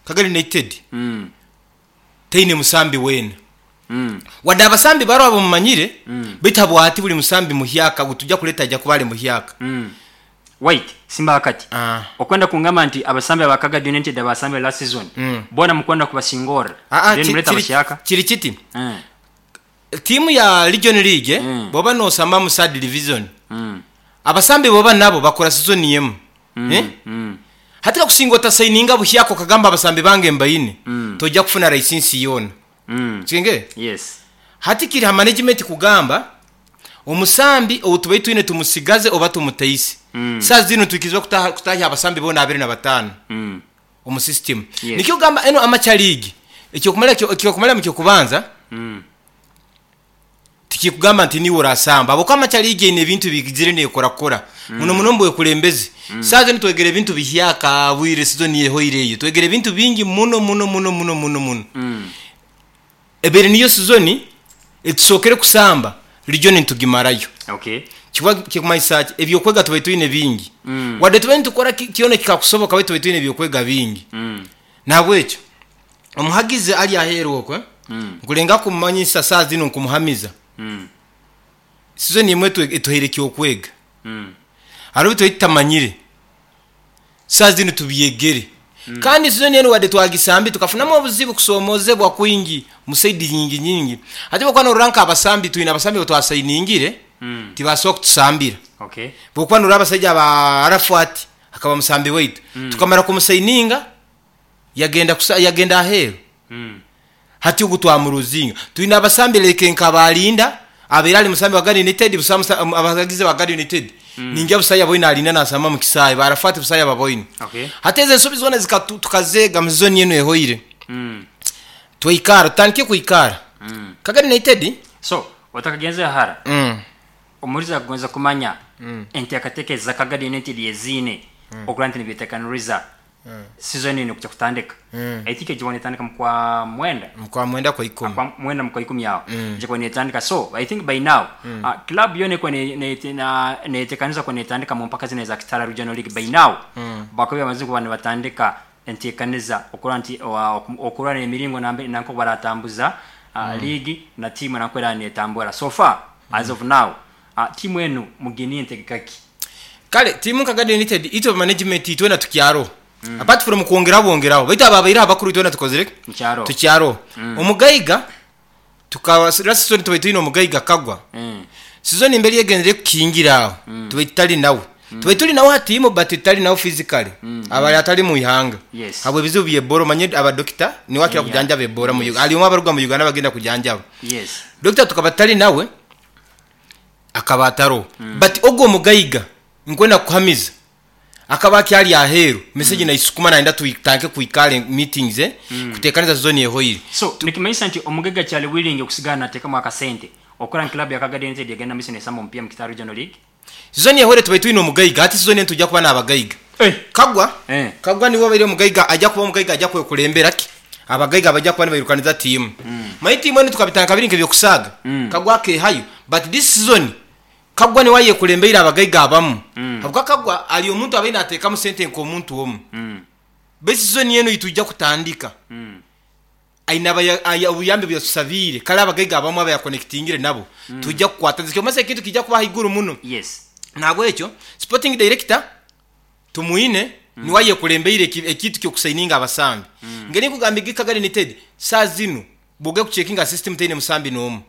Kagadi United teine musambi weena. Wadde abasambi baroho abamumanyire, beitu habwati buri musambi muhyaka ogu tujja kureeta aija kuba ari muhyaka. Wait, Simba akati, Okwenda kungamba nti abasambi aba Kagadi United abasambire last season boona mukwenda kubasingorra then murete abahyaka? Kiri kiti, tiimu ya Region League bwoba nosamba mu third division, abasambi boba nabo bakora sizoni emwe. Hati kakusinga otasayininga buhyaka okagamba abasambi bange mbaine, toija kufuna layisinsi yoona. Okigengere? Yes. Hati kiri ha management kugamba omusambi ou tubaire twine tumusigaze oba tumutaise. Saaha zinu nitwikirizibwa kutaha kutahya abasambi boona 25 omu system. Yes. Nikyo kugamba enu amateur league ekyokumara ekyokumara ekyokubanza Tikikugamba nti niiwe orasamba ahabw'okuba amaca liigi eine ebintu ebiigizire neekorakora muno muno omu bwekulembezi. Saaha zinu twegere ebintu bihyaka bwire sizoni ehoire eyo twegere ebintu bingi muno muno muno muno muno muno. Ebaire niyo sizoni etusookere kusamba region nitugimarayo. Okay. Kikuba kikumanyisa ki? Eby'okwega tubaire twine bingi. Wadde tubaire nitukora ki kyona ekikakusoboka baitu tubaire twine eby'okwega bingi. Nahabwekyo Omuhagizi ari aheeru okwe, nkurenga kumumanyisa saaha zinu nkumuhamiza. Sizoni emwe etuhaire eky'okwega. Hariho ebi twali tutamanyire, saaha zinu tubyegere. Kandi sizoni enu wadde twagisambi tukafunamu obuzibu, kusoomoozebwa kwingi mu saidi nyingi nyingi. Hati bwokuba norora nk'abasambi, twine abasambi abu twasayiningire tibasobola kutusambira. Bwokuba norora abasaija ba Arafat akaba musambi waitu, tukamara kumusayininga, Yagenda kusa, yagenda aheeru. Hati ogu twamuruzinga. Twine abasambi like nka ba Linda, abaire ari musambi wa Gad United, busa musa, abahagizi ba Gad United. Ningira busa yaboine Alinda nasamba omu kisaayi, ba Arafat busa yababoine. Okay. Hati ezo ensobi zoona zikatu, tukazeega mu sizoni enu ehoire. Twaikara, tutandike kwikara. Nka Gad United. So, otakagenzire hara, omuhuriza akugonza kumanya enteekateeka eza Kagadi United eziine okurora nti nibeteekaniriza Season enu ekuja kutandika. I think ejikuba netandika mu kwa mwenda. Mu kwa mwenda kwa ikumi. Kwa mwenda mu kwa ikumi aho. Ejikuba netandika. So I think by now club yona ekuba neyetekaniza kuba netandika mu mpaka zinu eza Kitara Regional League by now bakaba bamazire kuba nibatandika entekaniza okurora nti okurora emiringo nanka oku baratambuza league na team nanka oku eraba netambura. So far as of now team enu muginiire ntegeka ki? Kale tiimu nka Garden United itwe aba management itwena tukyaroho apart from kwongeraho bwongeraho baitu abo abaireho abakuru itwena tukozire ki? Mukyaroho. Tukyaroho. Omugaiga tukaba last season tubaire twine omugaiga Kagwa. Season mberi egenzire kukingira aho tubaire tutari nawe. Tubaire turi nawe aha tiimu but tutari nawe physically. Abaire atari mu ihanga Yes. habw'ebizibu by'Ebola omanye aba doctor niwe akira Yeah. kujanjaba Ebola mu Yes. Uganda. Harimu abaruga mu Uganda abagenda kujanjaba. Yes. Doctor tukaba tutari nawe. Akaba ataroho. But ogwo omugaiga nkwenda kukuhamiza akaba akyari aheeru message naisukuma nayenda tutandike kwikara meetings kutekaniza season ehoire. So nikimanyisa nti omugaiga akyari willing okusigara natekamu akasente okukora ngu club ya Kagadi United egenda mumaiso nesamba omupiira mu Kitara Regional League? Season ehoire tubaire twine omugaiga hati season enu nitwija kuba nabagaiga. Kagwa Kagwa niwe obaire omugaiga aija kuba omugaiga aija kwekurembera ki abagaiga abaija kuba nibairukaniza tiimu. Manya tiimu enu tukabitandika biri nk'ebyokusaaga Kagwa akeehayo but this season Kagwa niwe ayekurembeire abagaiga abamu habwokuba Kagwa ari omuntu abaire nateekamu sente nk'omuntu omwe. Beitu season enu eitwija kutandika aine obuyambi obu yatusabiire kare abagaiga abamwe abu yakonekitingire nabo twija kukwataniza kyomasa ekintu kiija kuba ahaiguru muno. Nahabwekyo sporting director Tumwine niwe ayekurembeire ekintu ky'okusaininga abasambi. Ngeri nkugambire Gikaga Limited saaha zinu bw'ogenda kucekinga system teine musambi n'omu.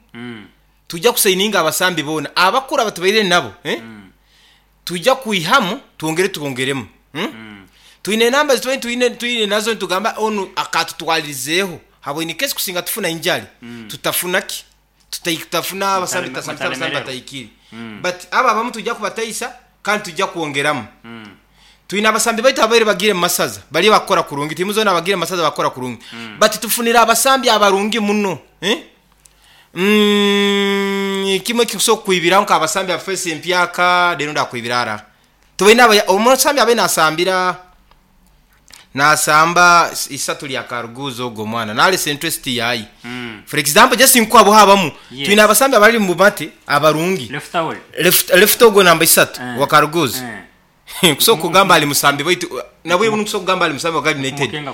Twija kusaininga abasambi boona abakuru abatubaire nabo twija kwihamu twongere twongeremu. Twine enamba ezi tubaire twine nazo nitugamba onu akatutwaririzeeho habwa in case kusinga tufuna injury tutafuna ki? Tutafuna abasambi tutasambisa abasambi batahikire. But abo abamu twija kubataisa kandi twija kwongeramu. Twine abasambi baitu ababaire bagiire mu masaza bariyo bakukora kurungi, tiimu zoona abagiire mu masaza bakukora kurungi. But tufunire abasambi abarungi muno. Kimwe ekikusobola kukwibiraho nk'abasambi aba face empyaka reero ndakwibira haraha. Tubaine abaya, omusambi abaire nasambira Nasamba isatu lya Karuguuzi ogwo omwana nalesa interest yaye. For example just nkuha habamu Yes. twine abasambi abari omu Bumate abarungi. Lefutawoli. Left left ogwo namba isatu Eh. wa Karuguuzi. Eh. Nkusobola kugamba ali musambi baitu nabwo nkusobola kugamba ali musambi wa Gad United. Mukenga.